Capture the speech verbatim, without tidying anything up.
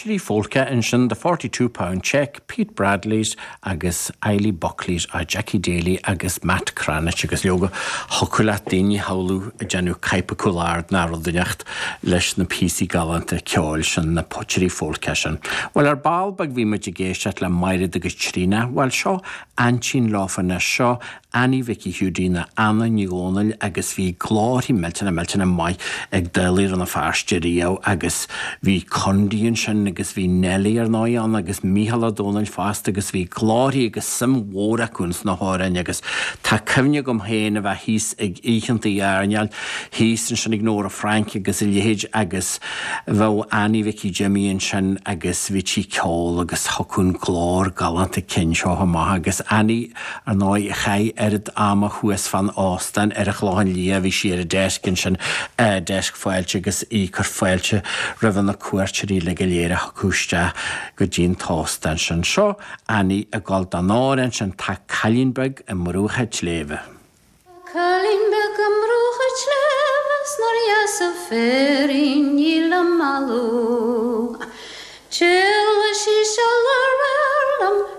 Trí pholca ansin The Forty Two Pound Cheque, Pete Bradley's agus Eilí Buckley's á Jackie Daly agus Matt Cranitch agus leoga thiocfadh leat daoine a shamhlú ag déanamh caidhpe cúl ard ná rud inteacht leis na píosaí galánta ceoil sin, na potairí folctha sin. Bhuel ar ball beag bhí muid ag éisteacht le Maighread agus Tríona, bhuel seo aintín leofa anois, seo Annie Mhicí Hiúdaí nó Anna Ní Dhomhnaill agus bhí glórthaí millteanna millteanna maith ag Dálaigh Rann na Feirste riamh agus bhí Condy ansin agus bhí Nellie ar ndóigh ann agus Mícheál Ó Domhnaill fosta agus bhí glórthaí agus suim mhór acu ins na hamhráin agus tá cuimhne agam féin a bheith thíos ag oícheantaí airneáil thíos ansin ag Nóra Frainc agus a leithéid agus bheadh Annie Mhicí Jimmy ansin agus bhítí ag ceol agus thiocfadh an glór galánta cinn seo amach agus Annie ar ndóigh a chaith oiread ama thuas fán óstán ar an Chlochán Liath, bhí sí ar an deisc ansin, deisc fáilte agus í ag cur fáilte roimh na cuairteoirí uilig go léir a thiocfadh isteach go dtí an t-óstán sin. Seo Annie ag gabháil don amhrán sin, Tá cailín beag i mbruach an tsléibhe. Tá cailín beag i mbruach an tsléibhe 's nár dheas an féirín í le mallú.